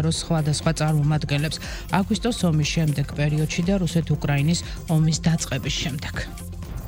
სხვადასხვა წარმომადგენლებს აგვისტოს ომის შემდეგ პერიოდში და რუსეთ-უკრაინის ომის დაწყების შემდეგ.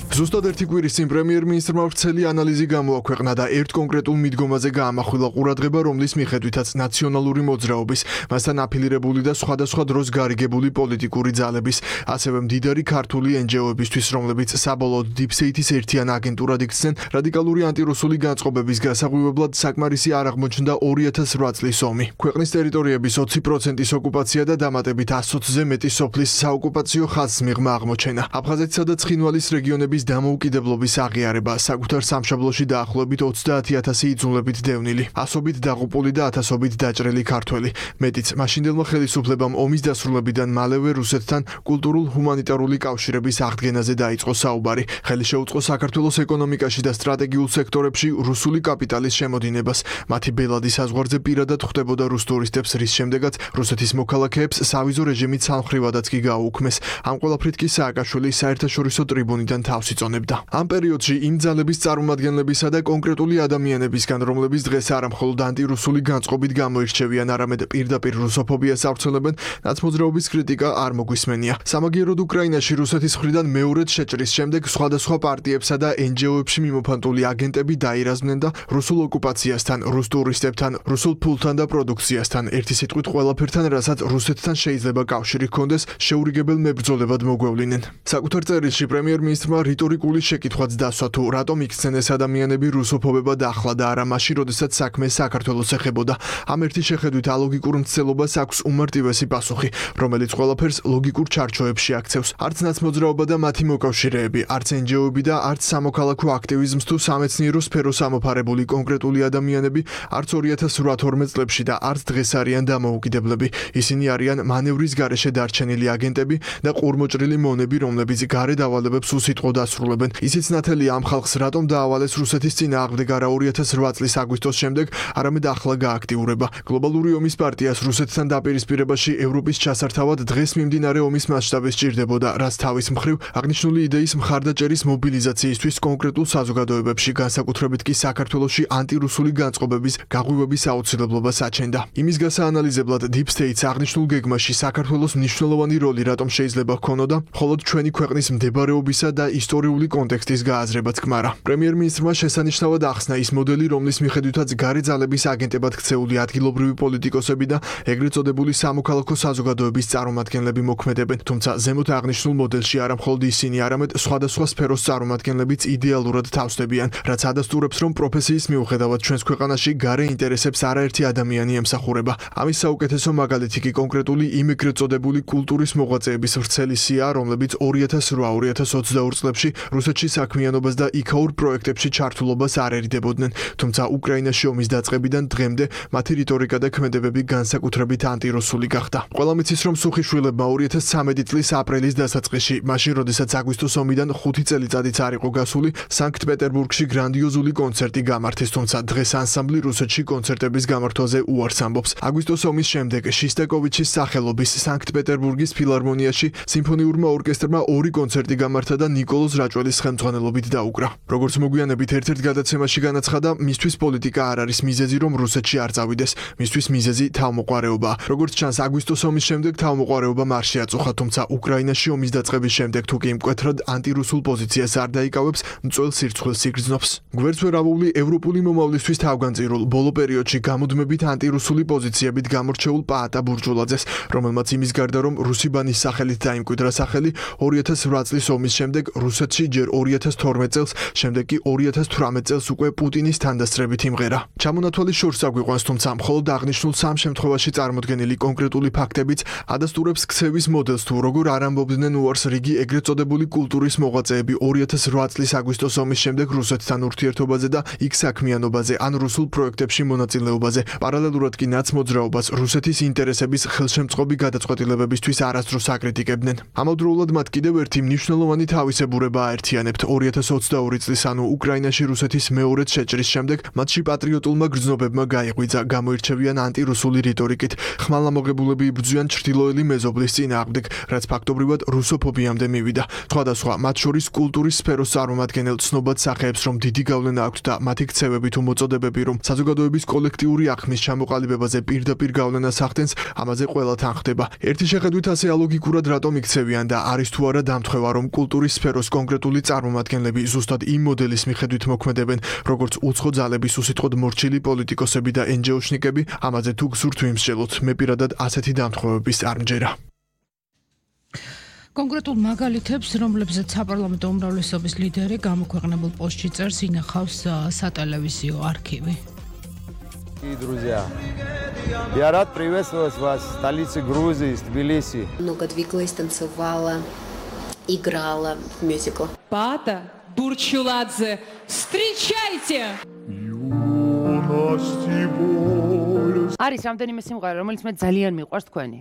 ზუსტად ერთი კვირის წინ პრემიერ-მინისტრმა ვრცელი ანალიზი გამოაქვეყნა და ერთ კონკრეტულ მიდგომაზე გაამახვილა ყურადღება, რომლის მიხედვითაც ნაციონალური მოძრაობის, მასთან აფილირებული და სხვადასხვა დროს გარიგებული პოლიტიკური ძალების, ასევე მდიდარი ქართული NGO-ებისთვის, რომლებიც საბოლოოდ დიპსტეიტის ერთიან აგენტურად იქცნენ, რადიკალური ანტირუსული განწყობების გასაღვივებლად საკმარისი არ აღმოჩნდა 2008 წლის ომი. ქვეყნის ტერიტორიების 20%-ის ოკუპაცია და დამატებით 120-ზე მეტი სოფლის საოკუპაციო ხაზს მიღმა აღმოჩენა. აფხაზეთსა და ცხინვალის რეგიონების დამოუკიდებლობის აღიარება, საკუთარ სამშობლოში დაახლოებით 30,000 იძულებით დევნილი, ასობით დაღუპული და ათასობით დაჭრილი ქართველი. მეტიც, მაშინდელმა ხელისუფლებამ ომის დასრულებიდან მალევე რუსეთთან კულტურულ-ჰუმანიტარული კავშირების აღდგენაზე დაიწყო საუბარი. ხელი შეუწყო საქართველოს ეკონომიკაში და სტრატეგიულ სექტორებში რუსული კაპიტალის შემოდინებას. მათი ბელადი საზღვარზე პირადად ხვდებოდა რუს ტურისტებს, რის შემდეგაც რუსეთის მოქალაქეებს სავიზო რეჟიმით სამხრივადაც კი გააუქმეს. ამ ყველაფრით კი სააკაშვილი საერთაშორისო ტრიბუნიდან თავს იწონებდა. ამ პერიოდში იმ ძალების წარმომადგენლებისა და კონკრეტული ადამიანებისგან, რომლებიც დღეს არა მხოლოდ ანტირუსული განწყობით გამოირჩევიან, არამედ პირდაპირ რუსოფობიას ავრცელებენ, ნაცმოძრაობის კრიტიკა არ მოგვისმენია. სამაგიეროდ უკრაინაში რუსეთის მხრიდან მეორედ შეჭრის შემდეგ სხვადასხვა პარტიებსა და NGO-ებში მიმოფანტული აგენტები დაირაზმნენ და რუსულ ოკუპაციასთან, რუს ტურისტებთან, რუსულ ფულთან და პროდუქციასთან, ერთი სიტყვით ყველაფერთან, რასაც რუსეთთან შეიძლება კავშირი ჰქონდეს, შეურიგებელ მებრძოლებად მოგვევლინენ. საკუთარ წერილში პრემიერ-მინისტრმა რიტორიკული შეკითხვაც დასვა, თუ რატომ იქცნენ ეს ადამიანები რუსოფობებად ახლა და არა მაშინ, როდესაც საქმე საქართველოს ეხებოდა. ამ ერთი შეხედვით ალოგიკურ მცდელობას აქვს უმარტივესი პასუხი, რომელიც ყველაფერს ლოგიკურ ჩარჩოებში აქცევს. არც ნაცმოძრაობა და მათი მოკავშირეები, არც NGO-ები და არც სამოქალაქო აქტივიზმს თუ სამეცნიერო სფეროს ამოფარებული კონკრეტული ადამიანები, არც 2008-12 წლებში და არც დღეს არიან დამოუკიდებლები. ისინი არიან მანევრის გარეშე დარჩენილი აგენტები და ყურმოჭრილი მონები, რომლებიც გარე დავალებებს უსიტყვოდ ასრულებენ. ისიც ნათელია ამ ხალხს რატომ დაავალეს რუსეთის წინააღმდეგ არა 2008 წლის აგვისტოს შემდეგ, არამედ ახლა გააქტიურება. გლობალური ომის პარტიას რუსეთთან დაპირისპირებაში ევროპის ჩასართავად დღეს მიმდინარე ომის მასშტაბი სჭირდებოდა, რაც თავის მხრივ აღნიშნული იდეის მხარდაჭერის მობილიზაციისთვის კონკრეტულ საზოგადოებებში, განსაკუთრებით კი საქართველოში ანტირუსული განწყობების გაღვივების აუცილებლობას აჩენდა. იმის გასაანალიზებლად Deep State-ს აღნიშნულ გეგმაში საქართველოს მნიშვნელოვანი როლი რატომ შეიძლება ჰქონოდა, მხოლოდ ჩვენი ქვეყნის მდებარეობისა და ისტორიული კონტექსტის გააზრება თქმარა. პრემიერ-მინისტრმა შესანიშნავად ახსნა ის მოდელი, რომლის მიხედვითაც გარე ძალების აგენტებად ქცეული ადგილობრივი პოლიტიკოსები და ეგრეთ წოდებული სამოქალაქო საზოგადოების წარმომადგენლები მოქმედებენ, თუმცა ზემოთ აღნიშნულ მოდელში არა მხოლოდ ისინი, არამედ სხვადასხვა სფეროს წარმომადგენლებიც იდეალურად თავსდებიან, რაც ადასტურებს, რომ პროფესიის მიუხედავად ჩვენს ქვეყანაში გარე ინტერესებს არაერთი ადამიანი ემსახურება. ამის საუკეთესო მაგალითი კი კონკრეტული იმ ეგრეთ წოდებული კულტურის მოღვაწეების ვრცელი სია, რომლებიც 2008-2022 წლებში რუსეთში საქმიანობას და იქაურ პროექტებში ჩართულობას არ ერიდებოდნენ, თუმცა უკრაინაში ომის დაწყებიდან დღემდე მათი რიტორიკა და ქმედებები განსაკუთრებით ანტირუსული გახდა. ყველა მიცის, რომ სუხიშვილებმა 2013 წლის აპრილის დასაწყისში, მაშინ როდესაც აგვისტოს ომიდან 5 წელიწადიც არ იყო გასული, სანქტ-პეტერბურგში გრანდიოზული კონცერტი გამართეს, თუმცა დღეს ანსამბლი რუსეთში კონცერტების გამართვაზე უარს ამბობს. აგვისტოს ომის შემდეგ შისტაკოვიჩის სახელობის სანქტ-პეტერბურგის ფილარმონიაში სიმფონიურმა ორკესტრმა 2 კონცერტი გამართა და ნიკოლოზ რაჭველის ხელმძღვანელობით დაუკრა. როგორც მოგვიანებით ერთ-ერთ გადაცემაში განაცხადა, მისთვის პოლიტიკა არ არის მიზეზი, რომ რუსეთში არ წავიდეს, მისთვის მიზეზი თავმოყარეობაა. როგორც ჩანს, აგვისტოს ომის შემდეგ თავმოყარეობამ არ შეაწუხა, თუმცა უკრაინაში ომის დაწყების შემდეგ თუ კი მკვეთრად ანტირუსულ პოზიციას არ დაიკავებს, მწველ სირცხვილს იგრძნობს. გვერდს ვერავული ევროპული მომავლისთვის თავგანწირულ ბოლო პერიოდში გამუდმებით ანტირუსული პოზიციებით გამორჩეულ პაატა ბურჯულაძეს, რომელმაც იმის გარდა რომ რუსი ბანის სახელით დაიმკვიდრა სახელი, 2008 წლის ომის შემდეგ რუსეთში ჯერ 2012 წელს, შემდეგ კი 2018 წელს უკვე პუტინის თანდასწრებით იმღერა. ჩამონათვალის შორს აგვიყვანს, თუმცა მხოლოდ აღნიშნულ სამ შემთხვევაში წარმოდგენილი კონკრეტული ფაქტებიც ადასტურებს ქცევის მოდელს, თუ როგორ არ ამბობდნენ უარს რიგი ეგრეთ წოდებული კულტურის მოღვაწეები 2008 წლის აგვისტოს ომის შემდეგ რუსეთთან ურთიერთობაზე და იქ საქმიანობაზე ან რუსულ პროექტებში მონაწილეობაზე. პარალელურად კი ნაცმოძრაობას რუსეთის ინტერესების ხელშემწყობი გადაწყვეტილებებისთვის არასდროს აკრიტიკებდნენ. ამავდროულად მათ კიდევ ერთი მნიშვნელოვანი თავისებურება მომსახურება აერთიანებთ 2022 წლის ანუ უკრაინაში რუსეთის მეორედ შეჭრის შემდეგ მათში პატრიოტულმა გრძნობებმა გაიღვიძა გამოირჩევიან ანტირუსული რიტორიკით ხმალამოღებულები იბრძვიან ჩრდილოელი მეზობლის წინააღმდეგ რაც ფაქტობრივად რუსოფობიამდე მივიდა სხვადასხვა მათ შორის კულტურის სფეროს წარმომადგენელ ცნობად სახეებს რომ დიდი გავლენა აქვთ და მათი ქცევები თუ მოწოდებები რომ საზოგადოების კოლექტიური აღქმის ჩამოყალიბებაზე პირდაპირ გავლენას ახდენს ამაზე ყველა თან ხდება ერთი შეხედვით ასე ალოგიკურად რატომ იქცევიან და არის თუ არა დამთხევა რომ კულტურის სფეროს კონკრეტული წარმომადგენლები ზუსტად იმ მოდელის მიხედვით მოქმედებენ როგორც უცხო ძალების უსიტყვოდ მორჩილი პოლიტიკოსები და NGO-შნიკები ამაზე თუ გსურთ ვიმსჯელოთ მე პირადად ასეთი დამთხევების არ მჯერა კონკრეტულ მაგალითებს, რომლებზეც საპარლამენტო უმრავლესობის ლიდერი გამოქვეყნებულ პოსტში წერს, ინახავს სატელევიზიო არქივი. Друзья, я рад приветствовать вас в столице Грузии, в Тбилиси. Много двигалась, танцевала, играла в мюзиклах. Пата Бурчуладзе, встречайте! არის რამდენიმე სიმღერა, რომელიც მე ძალიან მიყვარს თქვენი.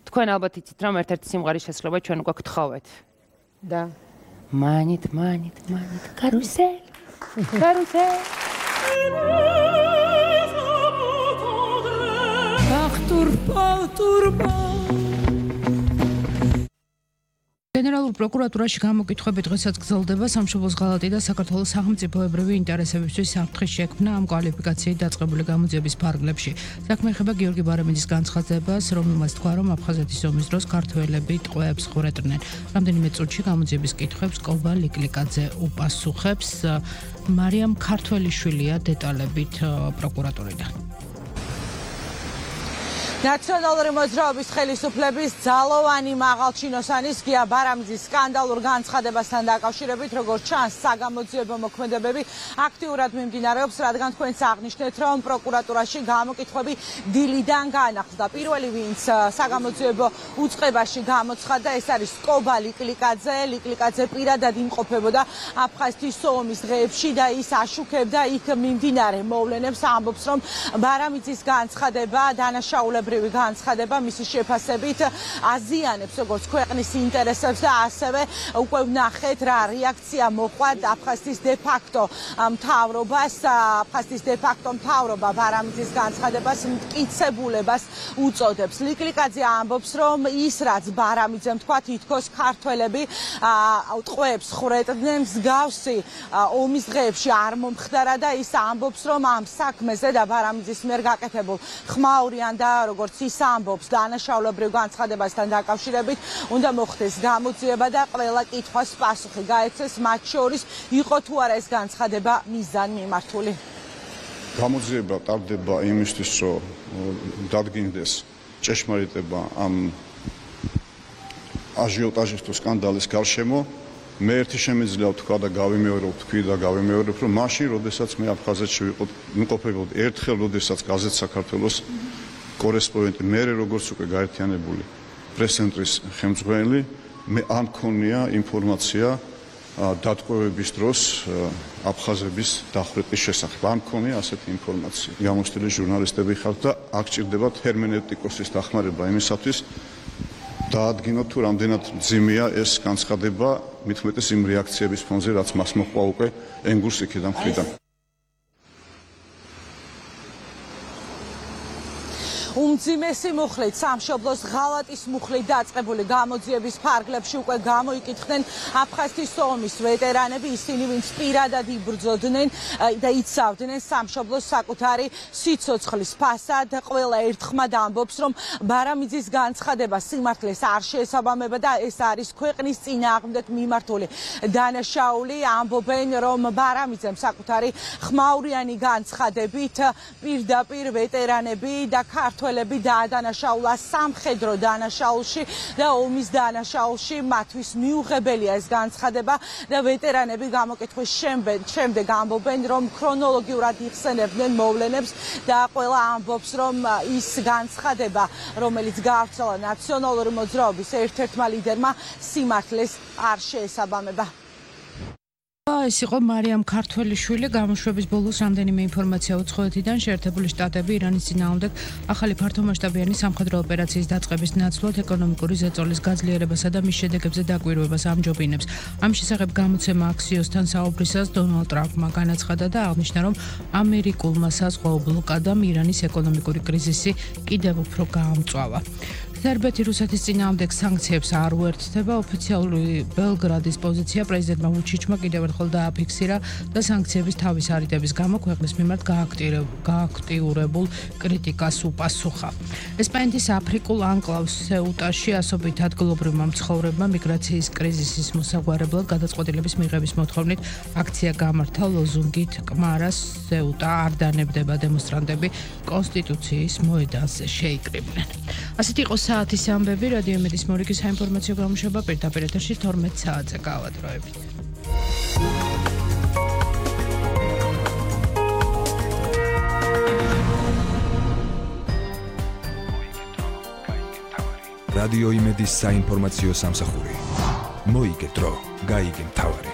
თქვენ ალბათ იცით, რომ ერთ-ერთი სიმღერის შესრულება ჩვენ უკვე გთხოვეთ. და манит, карусель. Турпа. გენერალურ პროკურატურაში გამოკითხვები დღესაც გრძელდება სამშობლოს ღალატი და საქართველოს სახელმწიფოებრივი ინტერესებისთვის საფრთხის შექმნა ამ კვალიფიკაციით დაწყებული გამოძიების ფარგლებში. საქმე ეხება გიორგი ბარამიძის განცხადებას, რომელმაც თქვა, რომ აფხაზეთის ომის დროს ქართველები ტყვეებს ხვრეტდნენ. რამდენიმე წუთში გამოძიების კითხვებს კობა ლიკლიკაძე უპასუხებს. მარიამ ქართველიშვილია დეტალებით პროკურატურიდან. ნაციონალური მოძრაობის ხელისუფლების ძალოვანი მაღალჩინოსანის გია ბარამიძის სკანდალურ განცხადებასთან დაკავშირებით, როგორც ჩანს, საგამოძიებო მოქმედებები აქტიურად მიმდინარეობს, რადგან თქვენც აღნიშნეთ, რომ პროკურატურაში გამოკითხვები დილიდან განახლდა. პირველი, ვინც საგამოძიებო უწყებაში გამოცხადდა, ეს არის კობა ლიკლიკაძე. ლიკლიკაძე პირადად იმყოფებოდა აფხაზეთის ომის დღეებში და ის აშუქებდა იქ მიმდინარე მოვლენებს, ამბობს, რომ ბარამიძის განცხადება დანაშაულებრივი განცხადება მისი შეფასებით აზიანებს როგორც ქვეყნის ინტერესებს და ასევე უკვე ვნახეთ რა რეაქცია მოყვა აფხაზეთის დე-ფაქტო მთავრობას. აფხაზეთის დე-ფაქტო მთავრობა ბარამიძის განცხადებას მტკიცებულებას უწოდებს. ლიკლიკაძე ამბობს, რომ ის რაც ბარამიძემ თქვა, თითქოს ქართველები ტყვეებს ხვრეტდნენ, მსგავსი ომის დღეებში არ მომხდარა და ის ამბობს, რომ ამ საქმეზე და ბარამიძის მიერ გაკეთებულ ხმაურიან და როგორც ის ამბობს დანაშაულებრივ განცხადებასთან დაკავშირებით უნდა მოხდეს გამოძიება და ყველა კითხვას პასუხი გაეცეს, მათ შორის იყო თუ არა ეს განცხადება მიზანმიმართული. გამოძიება ტარდება იმისთვის, რომ დადგინდეს ჭეშმარიტება ამ აჟიოტაჟის თუ სკანდალის გარშემო. მე ერთი შემიძლია ვთქვა და გავიმეორებ, რომ მაშინ, როდესაც მე აფხაზეთში ვიმყოფებოდი, ერთხელ, როდესაც გაზეთ საქართველოს კორესპონდენტი, მე როგორც უკვე გაერთიანებული პრეს-ცენტრის ხელმძღვანელი, მე არ მქონია ინფორმაცია დატყვევების დროს აფხაზების დახვრეტის შესახებ. არ მქონია ასეთი ინფორმაცია. გამოცდილი ჟურნალისტები ხართ და აქ ჭირდება ჰერმენევტიკოსის დახმარება იმისათვის დაადგინოთ თუ რამდენად მძიმეა ეს განცხადება, მithumetes იმ რეაქციების ფონზე, რაც მას მოყვა უკვე ენგურს იქიდან მხრიდან. უმძიმესი მუხლით სამშობლოს ღალატის მუხლით დაწყებული გამოძიების ფარგლებში უკვე გამოიკითხნენ აფხაზეთის ომის ვეტერანები, ისინი ვინც პირადად იბრძოდნენ და იცავდნენ სამშობლოს საკუთარი სიცოცხლის ფასად. ყველა ერთხმად ამბობს, რომ ბარამიძის განცხადება სიმართლეს არ შეესაბამება და ეს არის ქვეყნის წინააღმდეგ მიმართული დანაშაული. ამბობენ, რომ ბარამიძემ საკუთარი ხმაურიანი განცხადებით პირდაპირ ვეტერანები და ქართველები დაადანაშაულა სამხედრო დანაშაულში და ომის დანაშაულში. მათთვის მიუღებელია ეს განცხადება და ვეტერანები გამოკითხვის შემდეგ ამბობენ, რომ ქრონოლოგიურად იხსენებდნენ მოვლენებს და ყველა ამბობს, რომ ის განცხადება, რომელიც გაავრცელა ნაციონალური მოძრაობის ერთ-ერთმა ლიდერმა, სიმართლეს არ შეესაბამება. ეს იყო მარიამ ქართველიშვილი გამოშვების ბოლოს რამდენიმე ინფორმაცია უცხოეთიდან შეერთებული შტატები ირანის წინააღმდეგ ახალი ფართომასშტაბიანი სამხედრო ოპერაციის დაწყების ნაცვლად ეკონომიკური ზეწოლის გაძლიერებასა და მის შედეგებზე დაკვირვებას ამჯობინებს. ამ შესახებ გამოცემა აქსიოსთან საუბრისას დონალდ ტრამპმა განაცხადა და აღნიშნა, რომ ამერიკულმა საზღვაო ბლოკადამ ირანის ეკონომიკური კრიზისი კიდევ უფრო გაამწვავა. სერბეთი რუსეთის წინააღმდეგ სანქციებს არ უერთდება. ოფიციალური ბელგრადის პოზიცია პრეზიდენტმა ვუჩიჩმა კიდევ ერთხელ დააფიქსირა და სანქციების თავის არიდების გამო ქვეყნის მიმართ გააქტიურებულ კრიტიკას უპასუხა. ესპანეთის აფრიკულ ანკლავს სეუტაში ასობით ადგილობრივმა მცხოვრებმა მიგრაციის კრიზისის მოსაგვარებლად გადაწყვეტილების მიღების მოთხოვნით აქცია გამართა ლოზუნგით კმარას სეუტა არ დანებდება დემონსტრანტები კონსტიტუციის მოედანზე შეიკრიბნენ. ასეთი იყო საათის ამბები რადიო იმედის მორიგის საინფორმაციო გამოშვება პირდაპირ ეთერში 12 საათზე გავადროებით. რადიო იმედის საინფორმაციო სამსახური. მოიგე დრო, გაიგე მთავარი.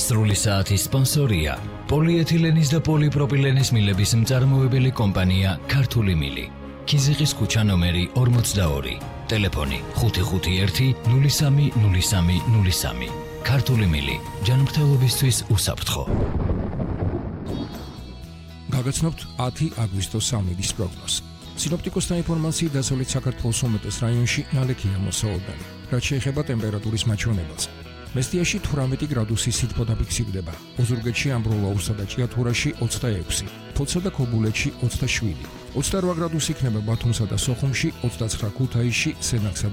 სრული საათის სპონსორია პოლიეთილენის და პოლიპროპილენის მილების მწარმოებელი კომპანია ქართული მილი. ქიზიყის ქუჩა ნომერი 42. ტელეფონი 551 030303. ქართული მილი. ჯანმრთელობისთვის უსაფრთხო. გაგაცნობთ 10 აგვისტოს სამედის პროგნოზს. სინოპტიკოსთა ინფორმაციით დასავლეთ საქართველოს უმეტეს რაიონში ნალექია მოსავალდანი. რაც შეეხება ტემპერატურის მაჩვენებელს. მესტიაში 18 გრადუსი სითბო დაფიქსირდება. ოზურგეთში, ამბროლაურსა და ჭიათურაში 26, ფოთსა და ქობულეთში 27, 28 გრადუსი იქნება ბათუმსა და სოხუმში, 29 ქუთაისში, სენაკსა და